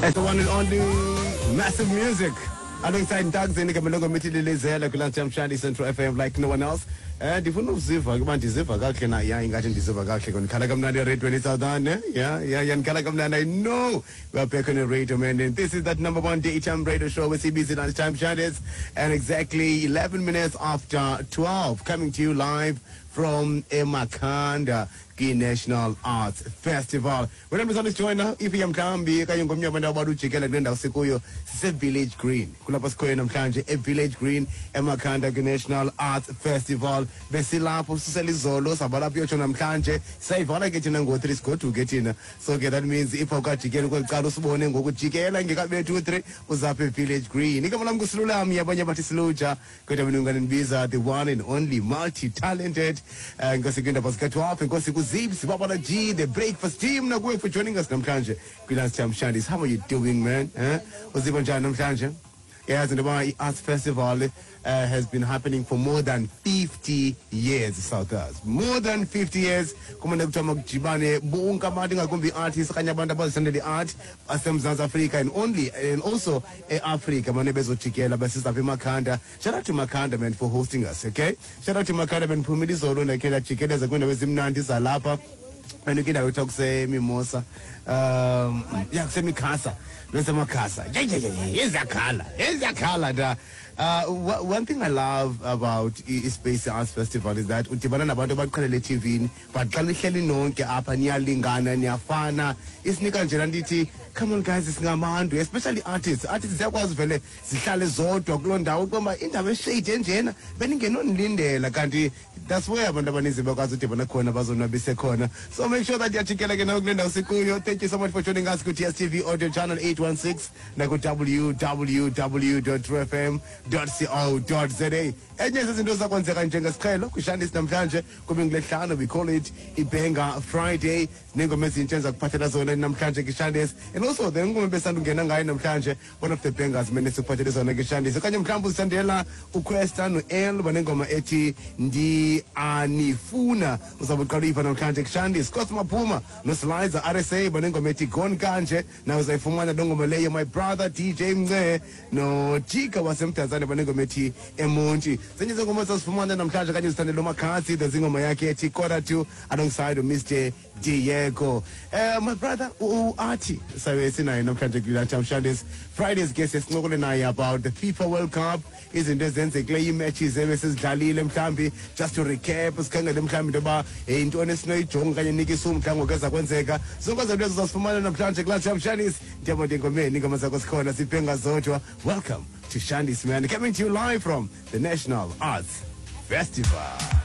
It's the one and only Massive Music. Alongside Ntagzeni Kamelongo Mithi Lilizela kwi-Lunchtime Shandy, Central FM like no one else. Ndifuna uziva ke uba ndiziva kakuhle na. Ya, ingathi ndiziva kakuhle ke, ndikhala kamnandi eradweni Southern, eh? Yeah, ndikhala kamnandi. I know we are back on the radio, man, and this is that number one daytime radio show with CBC Lunchtime Shandies, and exactly 11 minutes after 12, coming to you live from eMakhanda kwi-National Arts Festival. Wena mzana sijoyina if mhlawumbi okanye ngomnye wabantu abantu ujikela kule ndawo sikuyo, sise-Village Green, kulapho sikhoyo namhlanje e-Village Green eMakhanda kwi-National Arts Festival. Besilapho susela izolo, sabalapho uyotsho namhlanje, sayivala ke thina ngo-3, sigoduke thina. So ke that means if awukajikeli kweli cala usibone ngokujikela ngekabethu u-3, uzapha e-Village Green. Igama lam nguSilulami, abanye bathi Siluja, kodwa mina ungandibiza the one and only multi-talented nkosi kwindaba zika-12, enkosi kuZibs Babala G, the breakfast team, nakuwe for joining us namhlanje kwi-Lunchtime Shandies. How are you doing, man, eh? Uziva njani namhlanje? Yes, and the Arts Festival has been happening for more than 50 years, South Us. More than 50 years. Kumane kuthiwa makujibane bonke abantu, ingakumbi i-artists okanye abantu abazithandela i-art baseMzantsi Afrika and also e-Afrika, mane bezojikela besizapha eMakhanda. Shout out to Makhanda, man, for hosting us, okay? Shout out to Makhanda, man. Phumile izolo, ndakhe ndajikeleza kwiindawo ezimnandi zalapha and kwindawo ekuthiwa kuseMimosa, ya, kuseMikhasa, besemakhasa iziyakhala, iziyakhala da. One thing I love about i-Space Arts Festival is that udibana nabantu abaqhelele eTVini, but xa nihleli nonke apha niyalingana, niyafana. Isinika nje laa nto ithi, come on guys, singabantu, especially artists. Artists ziyakwazi vele zihlale zodwa kuloo ndawo, kuba indawo eshade enjena bendingenonilindela, kanti that's where abantu abaninzi bakwazi udibana khona, bazonwabise khona. So make sure that yajikela ke nawe kule ndawo sikuyo. Thank you so much for joining us ku-DStv audio channel 816 naku-www fm co za. Enye zezinto zakwenzeka njengesiqhelo kwishandisi namhlanje kube ngulesihlanu, we call it iBanger Friday. Neengoma ezintsha ezakuphathela zona namhlanje kwishandisi, and also the ngoma besandungena ngayo namhlanje, one of the bangers mene sikuphathele zona kwishandisi. Okanye mhlawumbi uzithandela uQuesta no-L, banengoma ethi Ndianifuna, uzawube uqala uyiva namhlanje kushandisi. Scott Maphuma noSlizer RSA banengoma ethi Gone Kanje, nawe uzayifumana loo ngoma leyo. My brother DJ Mnce noJika waseMdantsane banengoma ethi Emonti. Zenye zengoma zazifumana namhlanje kanye zithandela uMakhasi, there's ingoma yakhe ethi Quarter To alongside Mr Diego. My brother uAthi sabe sinaye namhlanje kwi-Lunchtime Shandies Fridays ke, sincokole naye about the FIFA World Cup, izinto ezenzekileyo, ii-matches ebesizidlalile, mhlawumbi just to recap, sikhangele mhlawumbi into yoba yintoni esinoyijonga okanye nikisa umdla ngoku eza kwenzeka. Zonke ezo nto ezo zazifumana namhlanje kwi-Lunchtime Shandies. Ndiyabona engomeni ingoma zakho sikhona sibhenga zodwa. Welcome to Shandies, man, coming to you live from the National Arts Festival.